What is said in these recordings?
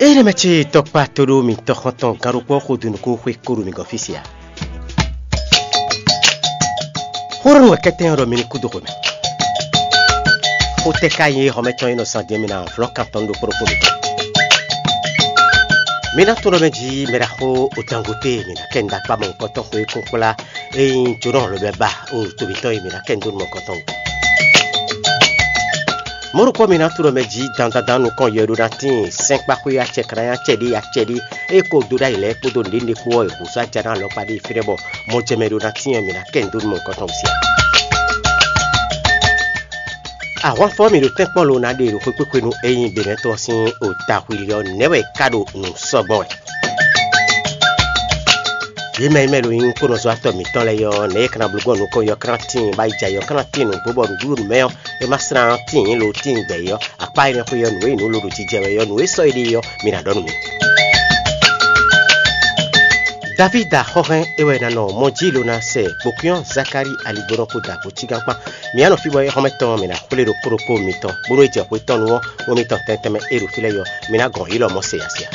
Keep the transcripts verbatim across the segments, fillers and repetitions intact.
Ényí mɛ ce tɔkpa to ɖó mi tɔxɔntɔn gán ɖokpó xo dó nukún xwé kó ɖo mi gɔ́n fí se ǎ. Xó ɖɔ nú wɛ kɛ́tɛ́ ɔ́ ɖɔ mi ní kú dó xwe mɛ. Xó tɛ́ ka nyí xɔmɛtɔn e nɔ zan din mi ná vlɔ́ kan tɔn ɖokpó ɖokpó mi tɔn. Mi ná tunwun ɖɔ mɛ jí mɛ ɖaxó Otangote mi ná kɛ nǔɖakpá mɔ̌hunkɔtɔn xwé kún kplá e nyí jónɔ lobɛ ba o to mǐtɔn e mi ná kɛ nǔ dó nú mɔ̌hunkɔtɔn wú. Mɔ̌ ɖokpó mi ná tunwun ɖɔ mɛ jí dandandan nukɔn yɛ ɖó ná tíin sɛ́nkpáxwé acɛ klánya acɛ ɖé acɛ ɖé e ko dó ɖ'ayǐ lɛ́ɛ kpódó nǔɖé nǔɖé kpó ɔ́ e hǔzú ajá ná alɔkpa ɖé fínɛ́ bɔ mɔjɛmɛ ɖó ná tíin mi ná kɛ nǔ dó nú mɔ̌hunkɔtɔn wú siá. Ahwanfɔ mi ɖo tɛ́nkpɔ́n lo ná ɖe ɖo xwékpékpé nú ényí Benɛ́tɔn sín ota hwili ɔ́, nɛ̌ wɛ é ka ɖo nǔ sɔ́ gbɔn wɛ? Yě mɛ e mɛ ɖo nyí kónɔzɔ́watɔ́ mǐtɔn lɛ́ɛ ɔ́, nɛ̌ é ka ná bló gbɔn nukɔn yɔ kán tíin bá yi jɛ yɔ kán tíin nǔgbó bɔ nǔɖuɖu mɛ ɔ́, é má slán tíin lo tíin gbɛ ɔ́, akpá énɛ́ xwé ɔ́, nǔ e nyǐ nǔ lo ɖo jijɛ wɛ ɔ́, nǔ e sɔ́ éɖée ɔ́, mi ná ɖɔ nú mì. Davída xɔ́hɛn é wɛ ná nɔ mɔ jí lo ná sɛ gbokúnyɔ́ Zakalíi aligbónɔ kpó dǎgbó cígán kpán. Mǐ á nɔ fí bɔ é xɔ́mɛ tɔn ɔ́, mǐ ná xwlé ɖokpó ɖokpó mitɔn, bónú é jɛ xwé tɔn nu ɔ́, wɛn mitɔn tɛntɛn mɛ e ɖo fí lɛ́ɛ ɔ́, mi ná gɔn yǐ lɔ mɔ̌ se ya se ya.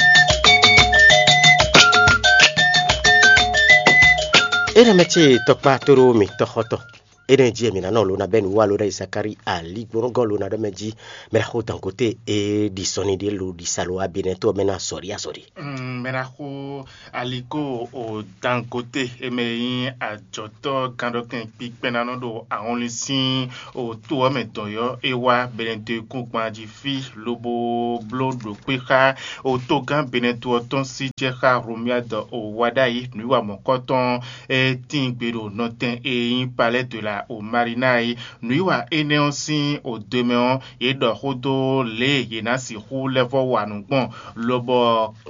Énɛ́ mɛ ce tɔkpá tóɖó mi tɔxɔtɔn. Énɛ́ jí wɛ mǐ ná nɔ lo ná bɛ́ nǔ wa lo ná yi Zakalíi aligbónɔgɔ́ lo ná ɖɔ mɛ jí mɛ ná xo dǎngote e ɖi sɔnni ɖé lo ɖi sa lo wá Benɛ́ tó ɔ́ mɛ ná azɔ̌ ɖi azɔ̌ ɖi. Mɛ ná xo aliko o dangote e mɛ e nyí ajɔ̌tɔ́ gánɖɔkɛn kpikpɛ́nánɔ ɖo ahɔnlin sín o to ɔ́ mɛ dɔn yɔ́ é wá Benɛ́ dó e kún gban jí fí lobo bló ɖo kpé xá o togán Benɛ́ to ɔ́ tɔn sí jɛ xá Romuald o wá ɖ'ayǐ nǔwiwa mɔ̌kɔtɔn e tíin gbe ɖo nɔtɛn e nyí Palɛ́ de la o Malina é. Nǔwiwa énɛ́ ɔ́ sín odwe mɛ ɔ́, yě ɖɔ xó dó lě e yě ná sixú lɛ́ vɔ́ wa nǔ gbɔn, lobɔ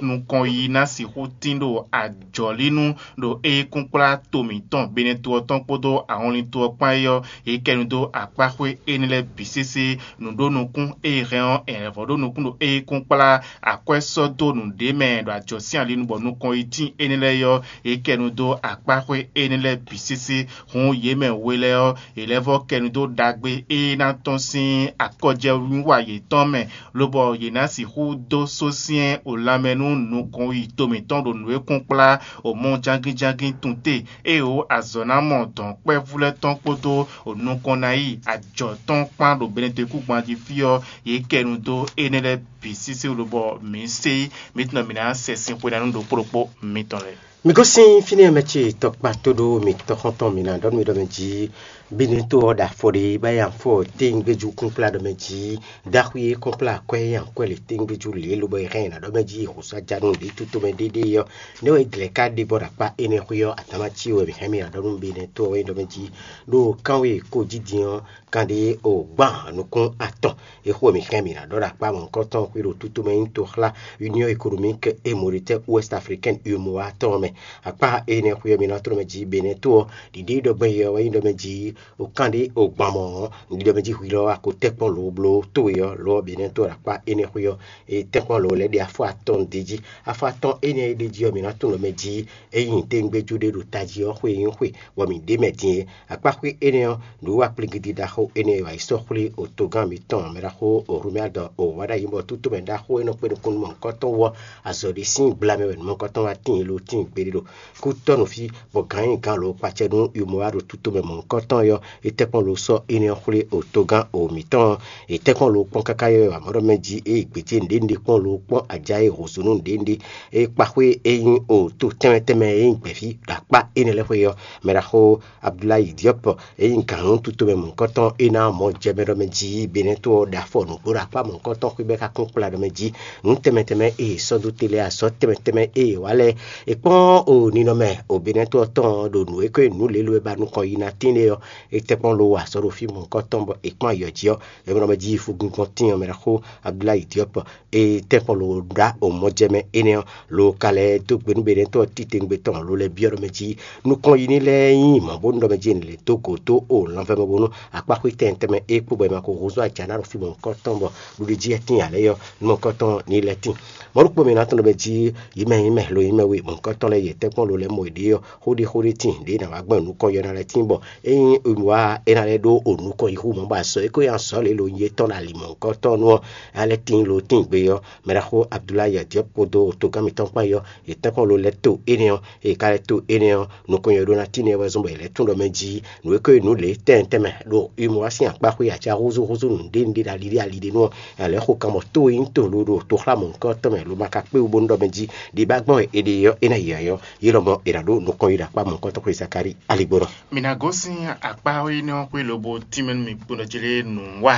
nukɔn yi ná sixú tín ɖo ajɔ̌línú ɖo é kún kplá to mǐtɔn Benɛ́ to ɔ́ tɔn kpódó ahɔnlin to ɔ́ kpán é ɔ́, yě kɛ nu dó akpáxwé énɛ́ lɛ́ɛ bǐ sésé. Nǔɖonukún e hɛn ɔ́, è lɛ̌ vɔ́ ɖó nukún ɖo é kún kplá akwɛ́ sɔ́ dó nǔɖé mɛ ɖo ajɔ̌ sín ali nu bɔ nukɔn yi tíin énɛ́ lɛ́ɛ ɔ́, yě kɛ nu dó akpáxwé énɛ́ lɛ́ɛ bǐ sésé. Hǔn yě mɛ we lɛ́ɛ ɔ́, è lɛ́ vɔ́ kɛ nu dó ɖagbe e ná tɔ́n sín akɔjɛnúwa yětɔn mɛ, lobɔ yě ná sixú dó sósyɛ́n o lanmɛ nú nukɔn yi to mǐtɔn ɖo nǔ e kún kplá o mɔ jangínjangín tun te, ée o azɔ̌ ná mɔ dɔ̌nkpɛ́vú lɛ́ɛ tɔn kpódó o nukɔn ná yi ajɔ̌ tɔn kpán ɖo Benɛ́dekúgban jí fí ɔ́, yě kɛ nu dó énɛ́ lɛ́ɛ bǐ sísí wú lobɔ mǐ sé mǐ tunɔ mǐ ná sɛ sin xwe ná nú ɖokpó ɖokpó mitɔn lɛ́ɛ. Mi gosín fínɛ́ mɛ ce tɔkpa tó ɖó mi tɔxɔntɔn mi ná ɖɔ nú mi ɖɔ mɛ jí Benɛ́ to ɔ́ ɖo afɔ ɖé bá yi afɔ téŋgbéjú kúnkplá ɖɔ mɛ jí, ɖaxwí e kɔ́nkplá akwɛ́ e akwɛ́ le téŋgbéjú lě lobɔ è hɛn ɛ ná ɖɔ mɛ jí hǔsá ja nú ɖě tutomɛ ɖéɖé ɔ́, nɛ́ wɛ glɛ̌ ka ɖe bɔ ɖo akpá énɛ́ xwé ɔ́, atán ná cí wɛ mǐ hɛn mì ná ɖɔ nú Benɛ́ to ɔ́ wɛ ɖɔ mɛ jí, ɖo kánwé e kó jí din ɔ́, kan ɖé o gbán nukún atɔn. É xo mǐ hɛn mǐ ná ɖɔ ɖo akpá mɔ̌hunkɔtɔn xwé ɖo tutomɛ nyí toxlá Union Économique et Monétaire Ouest Africaine, U M O A, tɔn mɛ. Akpá énɛ́ xwé ɔ́, mi ná tló mɛ jí Benɛ́ to ɔ́, ɖiɖe ɖɔgbɛ́n yɛ ɔ́ wɛ nyí ɖɔ mɛ jí o kán ɖé o gbán mɔ̌ ɔ́, un ɖi ɖɔ mɛ jí hwi lɔ wá ko tɛ́nkpɔ́n lǒ bló towe ɔ́, lo ɔ́ Benɛ́ to ɖo akpá énɛ́ xwé ɔ́, e tɛ́nkpɔ́n lǒ lɛ́ ɖe afɔ atɔn ɖ'é jí. Afɔ atɔn énɛ́ e ɖ'é jí ɔ́, mǐ ná tunwun ɖɔ mɛ jí é nyí téŋgbéjú ɖé ɖo tají ɔ́ xwé e nyí xwe, bɔ mǐ ɖ'é mɛ din é. Akpáxwé énɛ́ ɔ́, nǔwiwa kplígídí ɖaxó énɛ́ e wǎ yi sɔ́ xwlé otogán mǐtɔn mɛ ɖaxó Romuald o wá ɖ'ayǐ bɔ tútomɛ ɖaxó e nɔ kpé nukún nú mɔ̌hunkɔtɔn wú ɔ́, azɔ̌ ɖé sín gbla mɛ wɛ nǔ mɔ̌hunkɔtɔn wá tíin lo tíin gbeɖé ɖo kútɔ́ nú fí, bɔ gǎn e gǎn lo kpacɛ nú U M O A ɖo tútomɛ mɔ̌hunkɔtɔn ɔ́, é tɛ́nkpɔ́n lo sɔ́ énɛ́ ɔ́ xwlé otogán o mǐtɔn ɔ́. È tɛ́nkpɔ́n lo kpɔ́n káká yɔ́ wǎ mɔ ɖɔ mɛ jí ée gbějé nǔɖé nǔɖé kpɔ́n lo kpɔ́n ajá e hǒzú nú nǔɖé nǔɖé e kpa xwé e nyí o to tɛnmɛ tɛnmɛ e nyí gbɛ̌ví ɖo akpá énɛ́ lɛ́ɛ xwé ɔ́, mɛ ɖaxó Abdulayi Diɔ́p e nyí gǎn nú tutomɛ mɔ̌hunkɔtɔn é ná mɔ jɛ mɛ ɖɔ mɛ jí Benɛ́ to ɔ́ ɖo afɔ nǔgbó ɖo akpá mɔ̌hunkɔtɔn xwé bɔ é ka kún kplá ɖɔ mɛ jí nǔ tɛnmɛ tɛnmɛ e è sɔ́ dó te lɛ́ɛ, azɔ̌ tɛnmɛ tɛnmɛ e è wá lɛ́ɛ. È kpɔ́n o ninɔmɛ o Benɛ́ to ɔ́ tɔn ɔ́ ɖo nǔ e ko nyí nǔ lělo e ba nukɔn yi ná tín é ɔ́, é tɛ́nkpɔ́n lo wa azɔ̌ ɖo fí mɔ̌hunkɔtɔn bɔ è kpɔ́n ayɔ jí ɔ́, é mɔ ɖɔ mɛ jí fúgúngɔn tíin ɔ́ mɛ ɖaxó Abdulayi Diɔ́p e tɛ́nkpɔ́n lo ɖó o mɔjɛmɛ énɛ́ ɔ́, lo ka lɛ́ dó gbe nú Benɛ́ to ɔ́ titewungbe tɔn lo lɛ́ byɔ́ ɖɔ mɛ jí nukɔn yi ní lɛ́ɛ nyí mɔ̌ bónú ɖɔ mɛ jí è nǐ lɛ́ dó gǒ dó o lanvɛ́ mɛ bónú akpáxwé tɛnmɛ tɛnmɛ e kpó bɔ è ma ko húzú ajǎ ná ɖo fí mɔ̌hunkɔtɔn bɔ ɖuɖu jí wɛ tíin ǎ lɛ́ɛ ɔ́, nú mɔ̌hunkɔtɔn ní lɛ́ tíin. Mɔ̌ ɖokpó mɛ ná tɔn ɖɔ mɛ jí yi mɛ nyí mɛ lo nyí mɛ we mɔ̌hunkɔtɔn lɛ́ɛ yě tɛ́nkpɔ́n lo lɛ́ɛ mɔ yěɖée ɔ́, xó ɖé xó ɖé tíin ɖě è nǎ wá gbɔn nukɔn yɔ ná lɛ́ɛ tíin bɔ ényí wá é ná lɛ́ ɖó o nukɔn yi xú mɔ̌ bɔ azɔ̌ e ko nyi azɔ̌ lě lo nyí étɔn ɖo ali mɔ̌hunkɔtɔn nu ɔ́, é ná lɛ́ tíin lo tíin gbe ɔ́, mɛ ɖaxó Abdulayi Adiɔ́b kpódó togán mǐtɔn kpán yɔ yě tɛ́nkpɔ́n lo lɛ́ɛ to énɛ́ ɔ́, è ka lɛ́ to énɛ́ ɔ́, nukɔn yɔ ɖó ná tíin wɛ zɔ́n bɔ è lɛ́ tún ɖɔ mɛ jí nǔ e ko nyí nǔ lě tɛnmɛ tɛnmɛ ɖo Imɔ́ sín akpá xwé acáhúzúhúzú nǔɖé nǔɖé ɖo ali ɖé ali ɖé nu ɔ́, è lɛ́ xo kan bɔ tó e nyí to lo ɖo toxlámɔ nukɔntɔn mɛ lo ma ka kpé wú bónú ɖɔ mɛ jí ɖi bá gbɔn è ɖe ɔ́ é ná yi ayɔ. Yě lɔmɔ̌ è nǎ ɖó nukɔn yi ɖo akpá mɔ̌hunkɔtɔn xwé Zakalíi aligbó nɔ. Mǐ ná gosín akpá énɛ́ ɔ́ xwé lobo tínmɛ nú mì kpo nɔ jlé nǔ wa,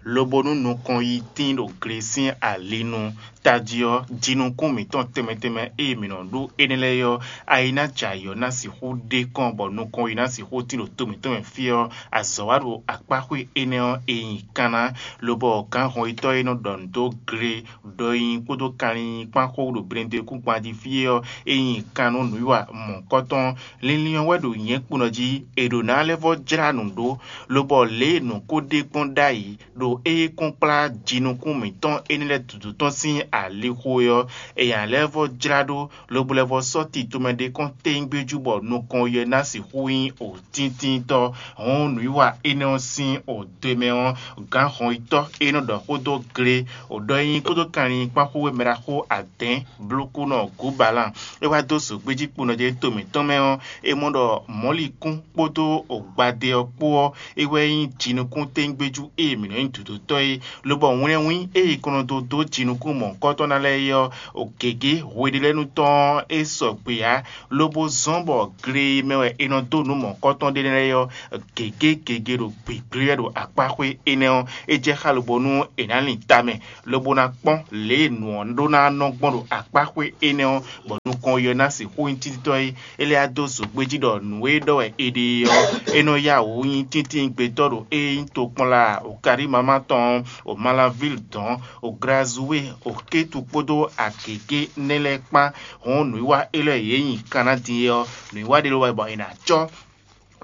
lobo nú nukɔn yi tín ɖo gle sín ali nu. Tají ɔ́, jinukún mǐtɔn tɛnmɛ tɛnmɛ e mǐ nɔ ɖó énɛ́ lɛ́ɛ ɔ́, ayi ná jɛ ayǐ ɔ́ ná sixú ɖe kɔn bɔ nukɔn yi ná sixú tín ɖo to mǐtɔn mɛ fí ɔ́, azɔ̌ wa ɖo akpá xwé énɛ́ ɔ́ e nyi kanna, lobɔ gǎnhɔnyitɔ́ e nɔ ɖɔ nǔ dó gle ɖɔ nyi kpódó kanlin kpán xó ɖo blɛndekúngban jí fí é ɔ́, é nyi kan nú nǔwiwa mɔ̌hunkɔtɔn. Linlin ɔ́ wɛ ɖo nyɛ̌ kpo nɔ jí; è ɖǒ ná lɛ́ vɔ́ jlá nǔ ɖó, lobɔ lě e nǔ ko ɖe gbɔn ɖ'ayǐ ɖo é kɔn kplá jinukún mǐtɔn énɛ́ lɛ́ɛ dudu tɔn sín alixo é ɔ́, è nǎ lɛ́ vɔ́ jlá ɖó, lobo lɛ́ vɔ́ sɔ́ tito mɛ ɖé kɔn téngbéjú bɔ nukɔn yɛ ná sixú nyí o tíntíntɔ́. Hɔn nǔwiwa énɛ́ ɔ́ sín o do e mɛ ɔ́, gǎnhɔnyitɔ́ e nɔ ɖɔ xó dó gle, o ɖɔ e nyí kpódó kanlin kpán xó e mɛ ɖaxó adɛ̌n blókúnɔ Gǔbalán. É wá dó zǒgbéjí kponɔ jɛ to mǐtɔn mɛ ɔ́, é mɔ ɖɔ mɔ̌likún kpódó gbadé ɔ́ kpó ɔ́, é wɛ nyí jinukúntégbéjú e mǐ nɔ nyí dǒdótɔ́ é, lobɔ wlɛ́nwín e è kɔn nɔ dó dó jinukún mɔ̌hunkɔtɔn ná lɛ́ɛ é ɔ́, gěgé hweɖélɛ́nu tɔn ɔ́ é sɔgbe ǎ, lobo zɔ́n bɔ gle e mɛ wɛ è nɔ dó nǔ mɔ̌hunkɔtɔn ɖe lɛ́ɛ ɔ́, gěgé gěgé ɖo gbǐgblí wɛ ɖo akpá xwé énɛ́ ɔ́, é jɛ xá lobo nú è nǎ lin tamɛ, lobo ná kpɔ́n lě e nǔ ɔ́ ɖó ná nɔ gbɔn ɖo akpá xwé énɛ́ ɔ́, bɔ nukɔn yi ɔ́ ná sixú nyí títítɔ́ é. É lɛ́ wá dó zǒgbéjí ɖɔ nǔ e ɖɔ wɛ è ɖe é ɔ́, é nɔ yá wǔ nyí tíntín gbetɔ́ ɖo é nyí tokpɔnla Okarímama tɔn ɔ́, o Malavíl dɔn, o Glazúwe, o Kétu kpódó agěgé nɛ́ lɛ́ɛ kpán. Hɔn nǔwiwa élɔ́ e yě nyi Kanadin é ɔ́, nǔwiwa ɖé ló wɛ bɔ è nǎ cɔ́,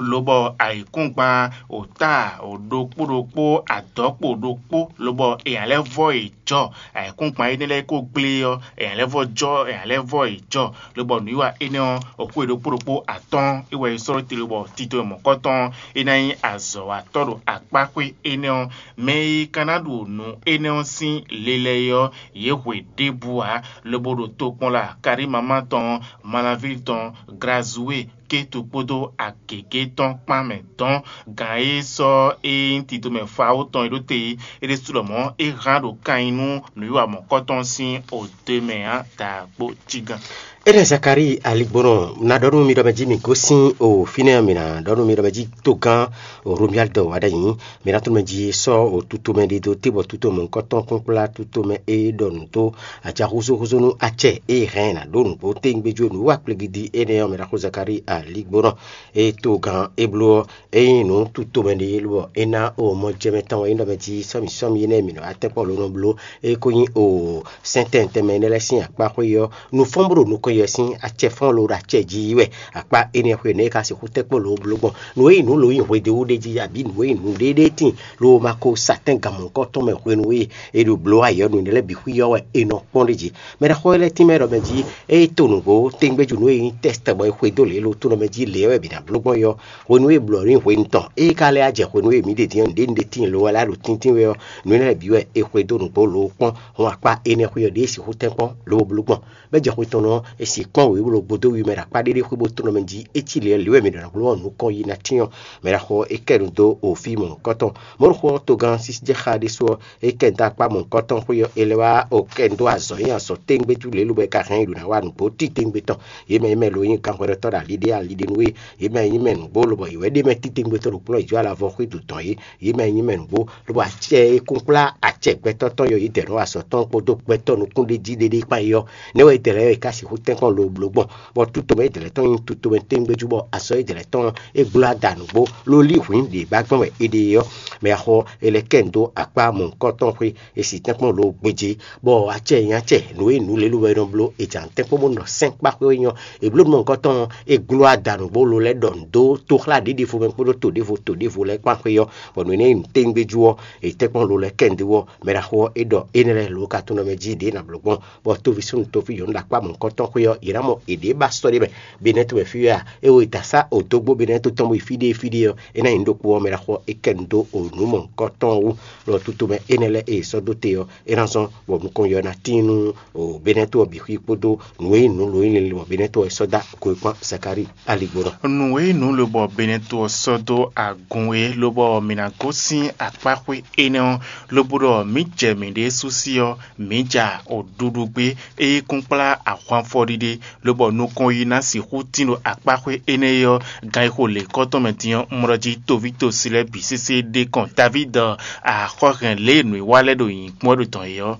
lobɔ ayǐkúngban, o táa, o ɖokpó ɖokpó, adɔ̌kpo ɖokpó, lobɔ è nǎ lɛ́ vɔ́ yě jɔ. Ayǐkúngban énɛ́ lɛ́ɛ ko gblé ɔ́, è nǎ lɛ́ vɔ́ jɔ, è nǎ lɛ́ vɔ́ yě jɔ, lobɔ nǔwiwa énɛ́ ɔ́, o xwé ɖokpó ɖokpó atɔ́ɔ́n é wɛ è sɔ́ ɖó te lobɔ tito e mɔ̌kɔtɔn ɔ́, é ná nyí azɔ̌watɔ́ ɖo akpá xwé énɛ́ ɔ́. Mɛ e ka ná ɖu nǔ énɛ́ ɔ́ sín le lɛ́ɛ é ɔ́, yě hwe ɖěbǔ ǎ, lobo ɖo tokpɔnla Karímama tɔn, Malavíli tɔn, Glazúwe, Kétu kpódó agěgé tɔn kpán mɛ dɔn. Gǎn e sɔ́ é nyí titomɛ Fawú tɔn e ɖó te é, é ɖésú lɔmɔ̌ é hán ɖo kan nyi nú nǔwiwa mɔ̌kɔtɔn sín odwe mɛ ǎ, dǎgbó jígán. Énɛ́ Zakalíi aligbónɔ ná ɖɔ nú mi ɖɔ mɛ jí mi gosín o fínɛ́ ɔ́, mi ná ɖɔ nú mi ɖɔ mɛ jí togán Romuald wá ɖ'ayǐ. Mǐ ná tunwun mɛ jí sɔ́ o tutomɛ ɖidó te bɔ tutomɛ nukɔntɔn kpɔ́nkplá tutomɛ e ɖɔ nǔ dó aca húzúhúzú nú acɛ e hɛn ná ɖó nǔgbó téngbéjú nǔ wa kplégídí énɛ́ ɔ́, mɛ ɖaxó Zakalíi aligbónɔ e togán e bló ɔ́, é nyí nǔ tutomɛ ɖé lobɔ é ná o mɔjɛmɛ tɔn wɛ é nɔ mɛ jí sɔ́mi sɔ́mi énɛ́ mǐ nɔ wá tɛ́nkpɔ́n lǒ nɔ bló é ko nyí o sɛ́ntɛn tɛnmɛ énɛ́ lɛ́ɛ sín akpá xwé ɔ́, nǔ fɔ́n bó ɖo nukɔn yɛ sín acɛ fɔ́n ló ɖo acɛ jí wɛ. Akpá énɛ́ xwé nɛ́ ka sixú tɛ́nkpɔ́n lǒ bló gbɔn. Nǔ e nyí nǔ lǒ nyi hwedó ɖé jí abǐ nǔ e nyí nǔɖéɖé tíin ló ma ko sa tɛ́n gan mɔ̌hunkɔtɔn mɛ hwenu e è ɖo blǒ ayǐ ɔ́, nǔ énɛ́ lɛ́ɛ bǐ xwí ɔ́ wɛ è nɔ kpɔ́n ɖ'é jí. Mɛ ɖaxó lɛ́ɛ tínmɛ ɖɔ mɛ jí ée to nǔgbó téngbéjú nú e nyí tɛ́ tɛgbɔ e xwedó lě lo tónɔ mɛ jí lě wɛ bǐ ná bló gbɔn é ɔ́, hwenu e è blǒ ɔ́ nyí hwenu tɔn. Ée ka lɛ́ wá jɛ hwenu e mǐ ɖe din ɔ́, nǔɖé nǔɖé tíin lo wɛ lɛ́ ɖo tíntín wɛ ɔ́, nǔ énɛ́ lɛ́ɛ bǐ wɛ è xwedó nǔgbó lo kpɔ́n. Hɔn akpá énɛ́ xwé ɔ́ ɖěe sixú tɛ́nkpɔ́n lobo bló gbɔn. Bɔ é jɛ xwe tɔn ɔ́, è sixú kpɔ́n wěwé ɖokpó dó wi mɛ ɖo akpá ɖé ɖé xwé bó tlɔ́n mɛ jí. É cí lě ɔ́, lě wɛ mǐ ɖɔ ná bló ɔ́ nukɔn yi ná cyɔ́n. Mɛ ɖaxó ɔ́, é kɛ nu dó òfí mɔ̌hunkɔtɔn. Mɔ̌ɖoxó ɔ́, togán sísí jɛ xá ɖésú ɔ́, é kɛ nu dó akpá mɔ̌hunkɔtɔn xwé ɔ́, é lɛ́ wá o kɛ nu dó azɔ̌ nyi azɔ̌ téngbé tú lě lobo é ka hɛn nyi ɖo ná wa nǔgbó títí téngbé tɔn. Yě mɛ yě mɛ lo nyí ganhwɛɖɔtɔ́ ɖo ali ɖé ali ɖé nú é. Yě mɛ nyí mɛ nǔgbó lobɔ yě wɛ ɖ'é mɛ títí téngbé tɔn ɖo kplɔ́n yi jí ala vɔ xwé dǒ tɔn é. Yě mɛ nyí mɛ nǔgbó, lobo acɛ e kún kplá acɛ gbɛtɔ́ tɔn yɔ yě dɛ nú azɔ̌ tɔn kpódó gbɛtɔ́ nukúnɖéjí ɖéɖé kpán é ɔ́, nɛ́ wɛ yě dɛ lɛ́ɛ yɔ yě ká sixú tɛ́nkpɔ́n lo bló gbɔn, bɔ tutomɛ é dlɛ̌ tɔn nyí tutomɛ téŋgbéjú, bɔ azɔ̌ é dlɛ̌ tɔn é gbló ada nǔgbó ló lí hwǐn ɖě ba gbɔn wɛ é ɖe é ɔ́, mɛ axɔ è lɛ́ kɛ nu dó akpá mɔ̌hunkɔtɔn xwé, è si tɛ́nkpɔ́n lo gbéjé, bɔ acɛ nyí acɛ nǔ e nǔ lě lobɔ è nɔ bló è jǎ tɛ́nkpɔ́n bó nɔ sɛ́n kpá xwé ɔ́ nyí ɔ́, è bló nǔ mɔ̌hunkɔtɔn ɔ́, è gló ada nǔgbó lo lɛ́ ɖɔ nǔ dó tóxlá ɖěɖěvo mɛ kpódó to ɖěvo to ɖěvo lɛ́ɛ kpán xwé ɔ́, bɔ nǔ énɛ́ e nyí nǔ téŋgbéjú ɔ́, è tɛ́nkpɔ́n lo lɛ́ kɛ nu dó ɔ́, mɛ ɖaxó ɔ́ é ɖɔ énɛ́ lɛ́ɛ lǒ ka tɔn nɔ mɛ jí ɖě nǎ bló gbɔn, bɔ tóví súnnu tóví nyɔ̌nu ɖo akpá mɔ̌hunkɔtɔn xwé ɔ́, yě ná mɔ yěɖée ba sɔ́ ɖé mɛ. Benɛ́to wɛ fí wɛ a? É wo e da sá odógbó Benɛ́to tɔn bo yi fí ɖé fí ɖé ɔ́, é ná nyí nú ɖokpó ɔ́, mɛ ɖaxó ɔ́ é kɛ nu dó o nǔ mɔ̌hunkɔtɔn ɔ́ wú. Lɔ tutomɛ énɛ́ lɛ́ɛ e è sɔ́ dó te ɔ́, é ná zɔ́n bɔ nukɔn yɔ ná tíin nú o Benɛ́to ɔ́ bǐ xwí kpódó nǔ e nyí nǔ lǒnyílílí bɔ Benɛ́to ɔ́ è sɔ́ dó ago e kpán Zakalíi aligbɔnɔ. Nǔ e nyí nǔ lobɔ Benɛ́to ɔ́ sɔ́ dó agun é, lobɔ mǐ ná gosín akpáxwé énɛ́ ɔ́, lobo ɖɔ mǐ jɛ mǐɖée sú sí ɔ́, mǐ ja oɖuɖu gbé, ée kún kplá ahwanfɔ ɖiɖe, lobɔ nukɔn yi ná sixú tín ɖo akpáxwé énɛ́ é ɔ́, gan e xo lěkɔ́ tɔn mɛ din ɔ́, un mɔ ɖɔ jí toví tosi lɛ́ɛ bǐ sésé ɖe kɔn Davídi axɔ́hɛn lě e nǔ e wa lɛ́ɛ ɖo nyǐkɔ ɔ́ ɖo dɔn é ɔ́.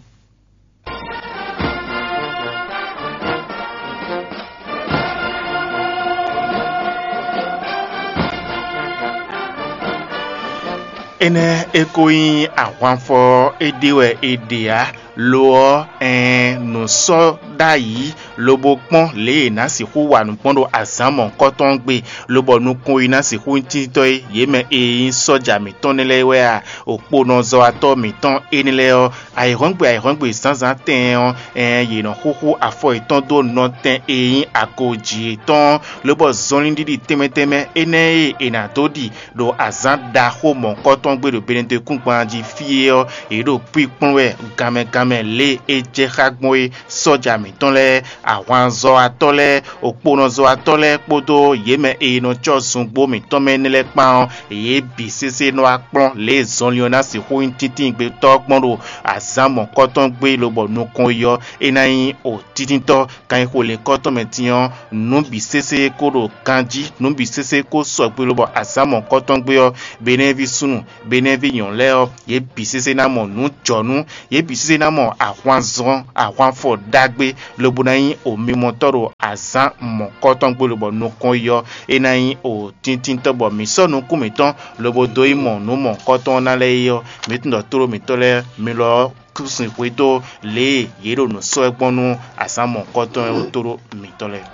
Énɛ́ é ko nyí ahwanfɔ ɔ́, é ɖe wɛ è ɖe ǎ. Lo ɔ́, ɛɛn, nǔ sɔ́ ɖ'ayǐ, lobo kpɔ́n lě e è nǎ sixú wa nǔ gbɔn ɖo azǎn mɔ̌hunkɔtɔn ɔ́ gbe, lobɔ nukɔn e ná sixú nyí títɔ́ é, yě mɛ e nyí sɔ́ja mǐtɔn nɛ́ lɛ́ɛ wɛ a? Okponɔzɔ́watɔ́ mǐtɔn énɛ́ lɛ́ɛ ɔ́, ayǐhɔ́ngbe ayǐhɔ́ngbe zǎnzǎn tɛɛn ɔ́, ɛɛn, yě nɔ xúxú afɔ yětɔn dó nɔtɛn e nyí agojí yětɔn ɔ́, lobɔ zɔnlin ɖiɖi tɛnmɛ tɛnmɛ énɛ́ e è nǎ dó ɖi ɖo azǎn ɖaxó mɔ̌hunkɔtɔn gbe ɖo Benɛdekúngban jí fí é ɔ́, yě ɖo kpíkplɔ́n wɛ ganmɛ ganmɛ lě e é jɛ xá gbɔn é. Sɔ́ja mǐtɔn lɛ́ɛ, ahwanzɔ́watɔ́ lɛ́ɛ, okponɔzɔ́watɔ́ lɛ́ɛ kpódó yě mɛ e nɔ cɔ́ zungbó mǐtɔn mɛ énɛ́ lɛ́ɛ kpán ɔ́, yě bǐ sésé nɔ wá kplɔ́n lě e zɔnlin ɔ́ ná sixú nyí tíntíngbe tɔ́ gbɔn ɖo azǎn mɔ̌hunkɔtɔn gbe lobɔ nukɔn yi ɔ́, é ná nyí o títíntɔ́. Kan e xo lěkɔ́ tɔn mɛ din ɔ́, nǔ bǐ sésé ko ɖo ganjí, nǔ bǐ sésé ko sɔgbe lobɔ azǎn mɔ̌hunkɔtɔn gbe ɔ́, Benɛ́ví súnnu, Benɛ́ví nyɔ̌nu lɛ́ɛ ɔ́, yě bǐ sésé ná mɔ nǔ jɔnú, yě bǐ sésé ná mɔ ahwanzɔ́n, ahwanfɔ ɖagbe, lobo ná nyí omimɔtɔ́ ɖo azǎn mɔ̌hunkɔtɔn gbe lobɔ nukɔn yi ɔ́, é ná nyí o tíntínntɔ́ bɔ mǐ sɔ́ nukún mǐtɔn lobo dó yi mɔ nǔ mɔ̌hunkɔtɔn ɔ́ ná lɛ́ɛ é ɔ́, mǐ tunwun ɖɔ tlóló mǐtɔn lɛ́ɛ, mi lɔ ɔ́, kú sin hwedó lě e yě ɖo nǔ sɔ́ wɛ gbɔn nú azǎn mɔ̌hunkɔtɔn ɔ́ tlóló mǐtɔn lɛ́ɛ.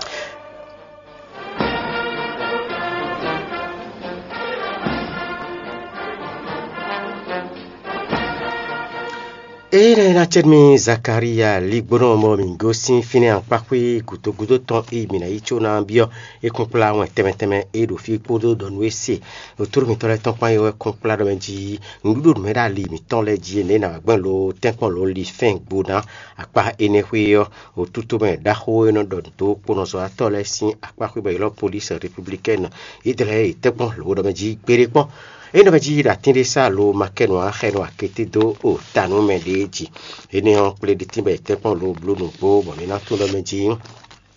Ée lɛ́ɛ ná cɛ́ mì Zakalía ligbónɔ mɔ mǐ gosín fínɛ́ akpáxwé gǔdo gúdo tɔn e mǐ ná yi có ná byɔ́ é kún kplá wɛn tɛnmɛ tɛnmɛ e ɖo fí kpódó ɖɔ nú é se ɖo tlóló mǐtɔn lɛ́ɛ tɔn kpán é wɛ kún kplá ɖɔ mɛ jí nǔɖuɖu nǔmɛ ɖo ali mǐtɔn lɛ́ɛ jí énɛ́ ná wá gbɛn lo tɛ́nkpɔ́n lo li fɛ́n gbo ná akpá énɛ́ xwé ɔ́, wǒtútú mɛ ɖaxó e nɔ ɖɔ nǔ dó kponɔzɔ́watɔ́ lɛ́ɛ sín akpá xwé bɔ è ylɔ́ Police Républicaine, yě dlɛ́ yě tɛ́nkpɔ́n lǒ ɖɔ mɛ jí gbéɖé kpɔ́n. É nɔ mɛ jí ɖo atín ɖé sá lo ma kɛ nǔ ǎ xɛ nɔ akété dó o ta nú mɛ ɖě jí. Énɛ́ ɔ́, kplé ɖi tínbɔ è tɛ́nkpɔ́n lo bló nǔgbó bɔ mǐ ná tunwun ɖɔ mɛ jí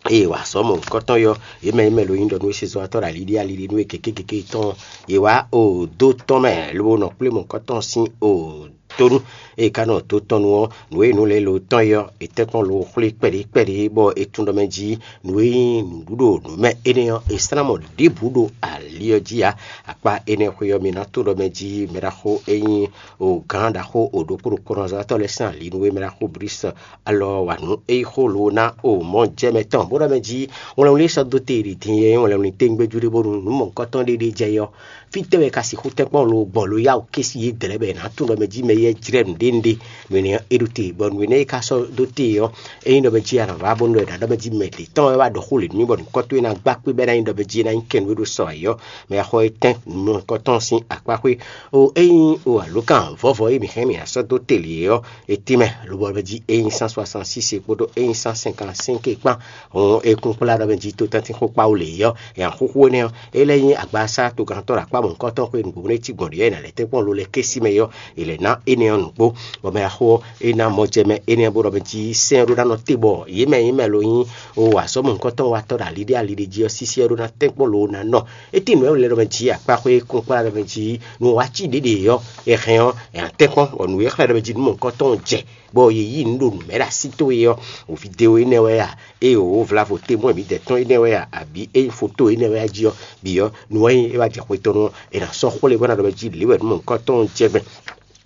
eye wǎ sɔ́ mɔ̌hunkɔtɔn yɔ, yě mɛ e mɛ lo nyí ɖɔ nú é se zɔ́watɔ́ ɖo aliɖí aliɖí nú é gěgé gěgé tɔn, yě wá o dó tɔn mɛ lobo nɔ kplé mɔ̌hunkɔtɔn sín o tónú. Eye ka nɔ tó tɔn nu ɔ́, nǔ e nǔ lɛ́ɛ lo tɔn é ɔ́, è tɛ́nkpɔ́n lo xwlé kpɛɖé kpɛɖé, bɔ è tunwun ɖɔ mɛ jí nǔ e nyí nǔɖuɖo nǔ mɛ énɛ́ ɔ́, è slán mɔ ɖěbǔ ɖo ali ɔ́ jí ǎ. Akpá énɛ́ xwé ɔ́, mi ná tunwun ɖɔ mɛ jí mɛ ɖaxó e nyí o gǎn ɖaxó o ɖokpó ɖokpónɔzɔ́watɔ́ lɛ́ɛ sín ali nú é, mɛ ɖaxó Blísɔ alɔ wa nǔ e yi xó lo ná o mɔ jɛ mɛ tɔn, bó ɖɔ mɛ jí wlɛnwlɛn sɔ́ dó te ɖi din e wlɛnwlɛn téŋgbéjú ɖé bónú nǔ mɔ̌hunkɔtɔn ɖé ɖé jɛ é ɔ́, fítɛ́ wɛ ka sixú tɛ́nkpɔ́n lo gbɔ lo yá wǔ ké sí yě dlɛ̌ bɔ è nǎ tunwun ɖɔ mɛ jí mɛ yɛ́ jlɛ́ nǔɖé nǔɖé nǔ énɛ́ ɔ́ é ɖo te, bɔ nǔ énɛ́ e ka sɔ́ dó te ɔ́, ényí ɖɔ mɛ jí a nǎ vá bónú ɖɔ è nǎ ɖɔ mɛ jí mɛ ɖě tɔn wɛ wá ɖɔ xó lě nú mì bɔ nǔkɔ́tɔ́ e ná gbá kpé bɔ é ná nyí ɖɔ mɛ jí é ná nyí kɛnwé ɖo sɔ ayǐ ɔ́, mɛ axɔ é tɛ́n nǔ mɔ̌hunkɔtɔn sín akpá xwé. O ényí o alǒkan vɔ̌vɔ́ e mǐ hɛn mǐ ná sɔ́ dó te lě é ɔ́, è tín mɛ, lobɔ mɛ jí ényí cent soixante-six kpódó ényí cent cinquante-cinq kpán. Hɔn é kún kplá ɖɔ mɛ jí tó tɛ́ntin xó kpá wú lě é ɔ́, è nǎ xúxú énɛ́ ɔ́, é lɛ́ nyí agbasá togantɔ́ ɖo akpá mɔ̌hunkɔtɔn xwé nǔgbó nú é cí gbɔn ɖě ɔ́, è nǎ lɛ́ tɛ́nkpɔ́n lo lɛ́ɛ ké sí mɛ é ɔ́, è lɛ̌ ná é Énɛ́ ɔ́ nǔgbó, bɔ mɛ axó ɔ́, é ná mɔ jɛ mɛ énɛ́ ɔ́, bó ɖɔ mɛ jí sɛ́n ɔ́ ɖó ná nɔ te bɔ yě mɛ nyí mɛ lo nyí o azɔ̌mɔ̌hunkɔtɔn watɔ́ ɖo ali ɖé ali ɖé jí ɔ́, sísí ɔ́ ɖó ná tɛ́nkpɔ́n lo ná nɔ. É tín nǔ e lɛ́ ɖɔ mɛ jí akpáxwé kúnkplá ɖɔ mɛ jí nú wá cí ɖěɖě ɔ́, è hɛn ɔ́, è nǎ tɛ́nkpɔ́n, bɔ nǔ e xlɛ́ ɖɔ mɛ jí nǔ mɔ̌hunkɔtɔn jɛ, bɔ yě yí nǔ ɖo nǔ mɛ ɖo así towe ɔ́, vidéo énɛ́ wɛ a? Ée wǒ vlavo témoin mǐdɛɛ tɔn énɛ́ wɛ a? Abǐ ényí foto énɛ́ wɛ a jí ɔ́, bǐ ɔ́, nǔ wɛ nyí é wá jɛ xwe tɔn nú ɔ́, è nǎ sɔ́ xwlé bó ná ɖɔ mɛ jí lě wɛ nú mɔ̌hunkɔtɔn jɛ gbɛn.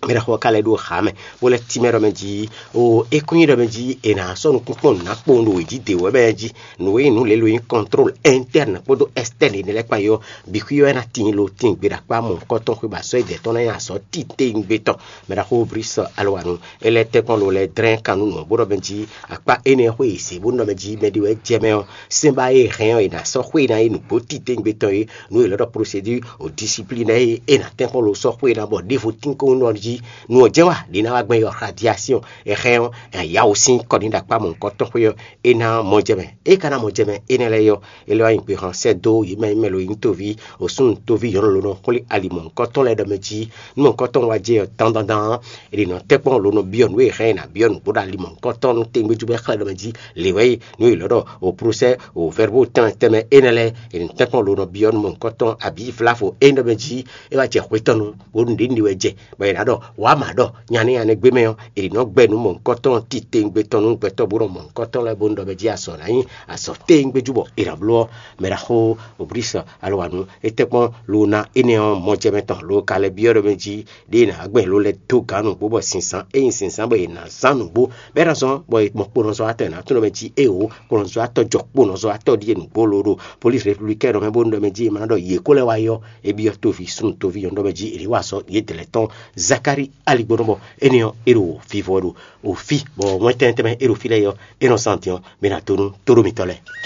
Mɛ ɖaxó ɔ́ ka lɛ́ ɖó xá mɛ, bó lɛ́ tínmɛ ɖɔ mɛ jí, o é kún nyí ɖɔ mɛ jí è nǎ sɔ́ nǔkúnkún nǔ ná kpowun ɖo wějí dě wɛ mɛ jí. Nǔ e nyí nǔ lělo e nyí contrôle interne kpódó externe énɛ́ lɛ́ɛ kpán é ɔ́, bǐ xwí ɔ́ ná tíin lo tíin gbe ɖo akpá mɔ̌hunkɔtɔn xwé bɔ azɔ̌ e dɛ̌ tɔn ná nyí azɔ̌ titewungbe tɔn. Mɛ ɖaxó Brice Alowanu, é lɛ́ tɛ́nkpɔ́n lo lɛ́ dlɛ́n kan nú nǔ ɔ́, bó ɖɔ mɛ jí akpá énɛ́ ɔ́ xwé e zě bó nɔ mɛ jí mɛɖé wɛ jɛ mɛ ɔ́, sɛ́n ba e hɛn ɔ́, è nǎ sɔ́ xwé ná nyí nǔgbó titewungbe tɔn é. Nǔ e è lɛ́ ɖɔ procédure o discipline ɔ́ é nǎ tɛ́nkpɔ́n lo sɔ́ xwé ná bɔ ɖěvo tínkɔ́n nɔ jí. Nú ɔ́ jɛ́n wa ɖě ná wá gbɛn yɔ radiation, è hɛn ɔ́, è nǎ yá wǔ sín kɔ ní ɖo akpá mɔ̌hunkɔtɔn xwé ɔ́, é ná mɔ jɛ mɛ. É ka ná mɔ jɛ mɛ énɛ́ lɛ́ɛ ɔ́, é lɛ́ wá nyi gbexan sɛ́ dó yě mɛ e mɛ lo nyí toví, osúnnu toví nyɔ̌nu lo nɔ xwlé ali mɔ̌hunkɔtɔn lɛ́ɛ ɖɔ mɛ jí. Nú mɔ̌hunkɔtɔn wá jɛ ɔ́, dandandan ɔ́, è ɖě nɔ tɛ́nkpɔ́n lo nɔ byɔ́ nǔ e hɛn è nǎ byɔ́ nǔgbó ɖo ali mɔ̌hunkɔtɔn nú tégbéjú bɔ é xlɛ́ ɖɔ mɛ jí lě wɛ é. Nǔ e è lɔ̌ ɖɔ o prosɛ́ o vɛ̌rbo tɛnmɛ tɛnmɛ énɛ́ lɛ́ɛ, è nɔ tɛ́nkpɔ́n lo nɔ byɔ́ nú mɔ̌hunkɔtɔn abǐ vlavo é nɔ mɛ jí é wá jɛ xwetɔ́nu, bónú ɖě ní wɛ jɛ, bɔ è nǎ ɖɔ wǎ mǎ ɖɔ nya nɛ́ nya nɛ́ gbé mɛ ɔ́, è nǐ nɔ gbɛ́ nǔ mɔ̌hunkɔtɔn titewungbe tɔn nú gbɛtɔ́ bó nɔ mɔ̌hunkɔtɔn lɛ́ɛ bónú ɖɔ mɛ jí azɔ̌ ná nyí azɔ̌ tewungbe jú bɔ è nǎ bló ɔ́. Mɛ ɖaxó Oblísɔ alɔwǎnu é tɛ́nkpɔ́n lo ná énɛ́ ɔ́ mɔjɛmɛ tɔn lo ka lɛ́ byɔ́ ɖɔ mɛ jí ɖěe è nǎ gbɛn lo lɛ́ dó gǎn nǔgbó bɔ zǐnzán é nyí zǐnzán bɔ è nǎ zán nǔgbó, bɔ è mɔ kponɔzɔ́watɔ́ è nǎ tunwun ɖɔ mɛ jí éwo kponɔzɔ́watɔ́ jɔ kponɔzɔ́watɔ́ ɖíe nǔgbó lo ɖo polísi republikɛn ɖɔ mɛ bónú ɖɔ mɛ jí è ma ná ɖɔ yě kó lɛ́ wá yɔ é byɔ́ toví súnnu toví nyɔ̌nu ɖɔ mɛ jí è nǐ wa azɔ̌ yě dlɛ̌ tɔn Zakári aligbɔnɔ bɔ énɛ́ ɔ́ é ɖo vivɔ ɖo òfí bɔ wɛn tɛnmɛ tɛnmɛ é ɖo fí lɛ́ɛ ɔ́ é nɔ zán din ɔ́, mɛ ná dó nú tóɖó mitɔn lɛ́ɛ.